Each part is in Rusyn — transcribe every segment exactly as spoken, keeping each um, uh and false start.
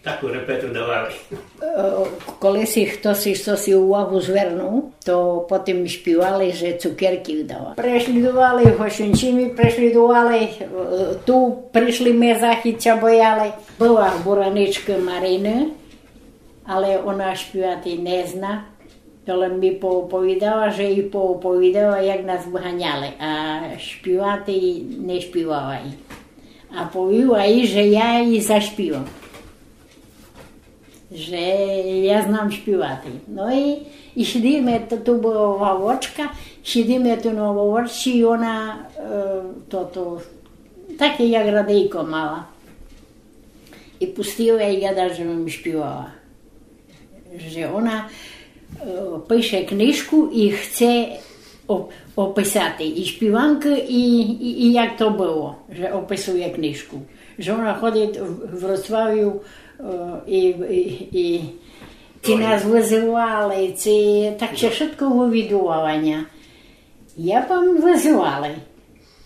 Таку репету давали. Е, коли си хтоси, хтоси увагу звернув, то потім шпівали, же цукеркы дава. Прешлідовали, Гошунчины прешлідовали, е, ту пришли, ме західця бояли. Была бураничка Марина, але она шпівати не зна. То лем ми пооповідала, же ї пооповідала, як нас выганяли, а шпівати не шпівала ї. А повіла ї, же я ї зашпівам. Же я знам шпівати. Но і, і сидиме, то, ту была лавочка, сидиме ту на лавочці, і она, е, тото, таке як радийко мала. І пустила, і гадала, же бым шпівала. Же она, е, пише книжку і хце оп-, описати і шпіванкы, і, і, і як то было, же описує книжку. Же она ходит в, в Вроцлавю, е, і, і, і ци нас вызывали, ци так ся вшытко вывідувала ня. Я пам вызывали.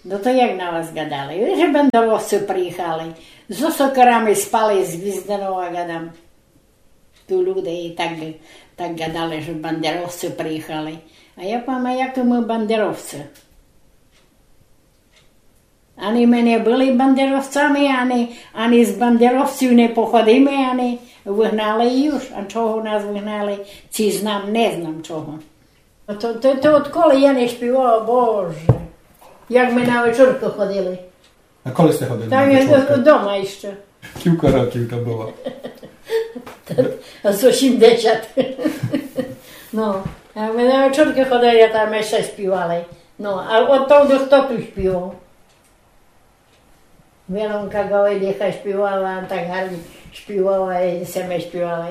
Но то як на вас гадали? Же бандеровци приїхали. Зо сокерами спали, з Гвізданова, гадам. Ту люде і так, так гадали, же бандеровци приїхали. А я пам, а якы мы бандеровци? Ани мы не были бандеровцами, ани, ани з бандеровців не походиме, ани выгнали і уж. А чого нас выгнали, ци знам, не знам чого. А то, то, то одколи я не шпівала, Боже. Як мы на вечоркы ходили. А коли сте ходили на вечоркы? Там я дома іщы. Кілько років то было? А сто сімдесят. Но, а мы на вечоркы ходили, а там іщы шпівали. Но, а од того хто ту шпівав? Веронка Галиліха шпівала, так гарно шпівала, і сьме шпівали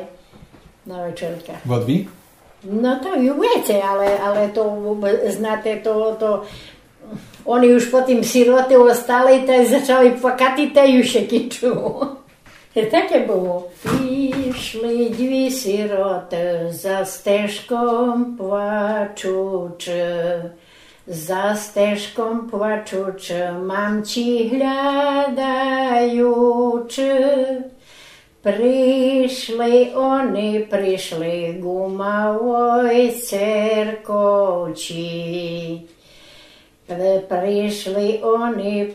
на вечорках. Во дві? Но то і веце, але, але то, знате, то, то, они уж потім сироты остали, та й зачали плакати, та й уж ся кінчило. І таке было. Пішли дві сироты за стежком плачучы. За стежком плачучы, мамці глядаючы, пришли они, пришли ку малой церковці. При-, пришли они,